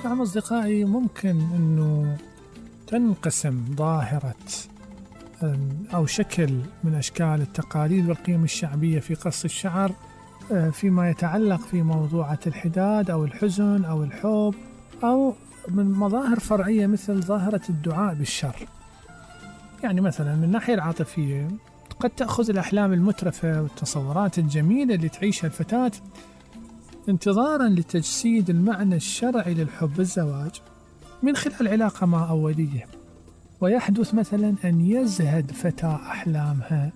نعم أصدقائي، ممكن أنه تنقسم ظاهرة أو شكل من أشكال التقاليد والقيم الشعبية في قص الشعر فيما يتعلق في موضوعة الحداد أو الحزن أو الحب، أو من مظاهر فرعية مثل ظاهرة الدعاء بالشر. يعني مثلا من الناحية العاطفية قد تأخذ الأحلام المترفة والتصورات الجميلة اللي تعيشها الفتاة انتظارا لتجسيد المعنى الشرعي للحب بالزواج من خلال علاقة مع أولية، ويحدث مثلا أن يزهد فتاة أحلامها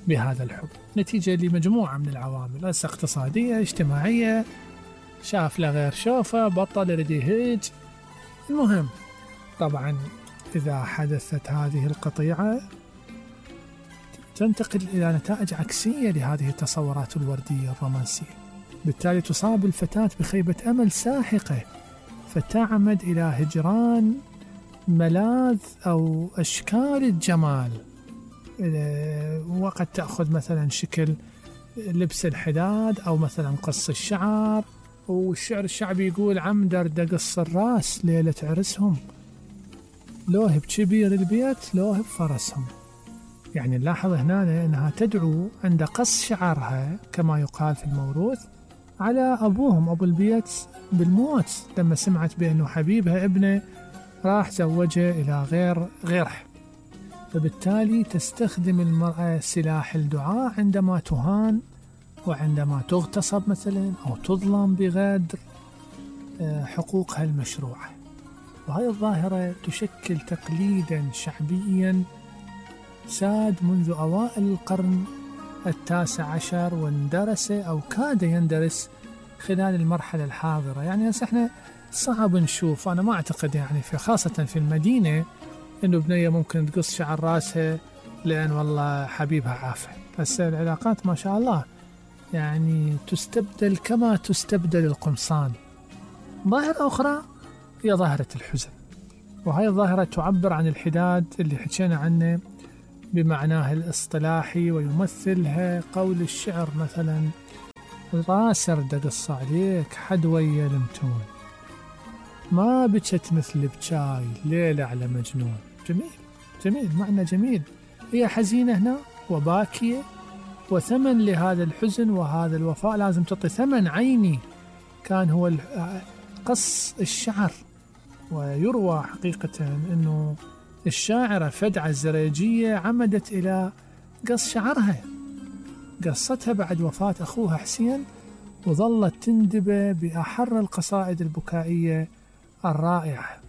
بهذا الحب نتيجة لمجموعة من العوامل، اقتصادية، اجتماعية، شاف له غير شوفه، بطل يريد يهج. المهم طبعا إذا حدثت هذه القطيعة تنتقل إلى نتائج عكسية لهذه التصورات الوردية الرومانسية، بالتالي تصاب الفتاة بخيبة أمل ساحقة فتعمد إلى هجران ملاذ أو أشكال الجمال، وقد تأخذ مثلا شكل لبس الحداد أو مثلا قص الشعر. والشعر الشعبي يقول عمدر دقص الراس ليلة عرسهم، لوه بكبير البيت لوه بفرسهم. يعني نلاحظ هنا أنها تدعو عند قص شعرها كما يقال في الموروث على أبوهم أبو البيت بالموت لما سمعت بأنه حبيبها ابنه راح زوجه إلى غيره، فبالتالي تستخدم المرأة سلاح الدعاء عندما تهان وعندما تغتصب مثلا أو تظلم بغدر حقوقها المشروعة. وهذه الظاهرة تشكل تقليدا شعبيا ساد منذ أوائل القرن 19 واندرس أو كاد يندرس خلال المرحلة الحاضرة. يعني هسه احنا صعب نشوف، أنا ما أعتقد يعني خاصة في المدينة إنه بنية ممكن تقص شعر راسها لأن والله حبيبها عافى. بس العلاقات ما شاء الله يعني تستبدل كما تستبدل القمصان. ظاهرة أخرى هي ظاهرة الحزن، وهي الظاهرة تعبر عن الحداد اللي حكينا عنه بمعناه الاصطلاحي، ويمثلها قول الشعر مثلا راسر دقص عليك حدوية لمتون، ما بكت مثل بشاي ليلة على مجنون. جميل جميل، معنى جميل. هي حزينة هنا وباكية، وثمن لهذا الحزن وهذا الوفاء لازم تعطي ثمن عيني كان هو قص الشعر. ويروى حقيقة أنه الشاعرة فدعة الزريجية عمدت إلى قص شعرها، قصتها بعد وفاة أخوها حسين، وظلت تندب بأحر القصائد البكائية الرائعة.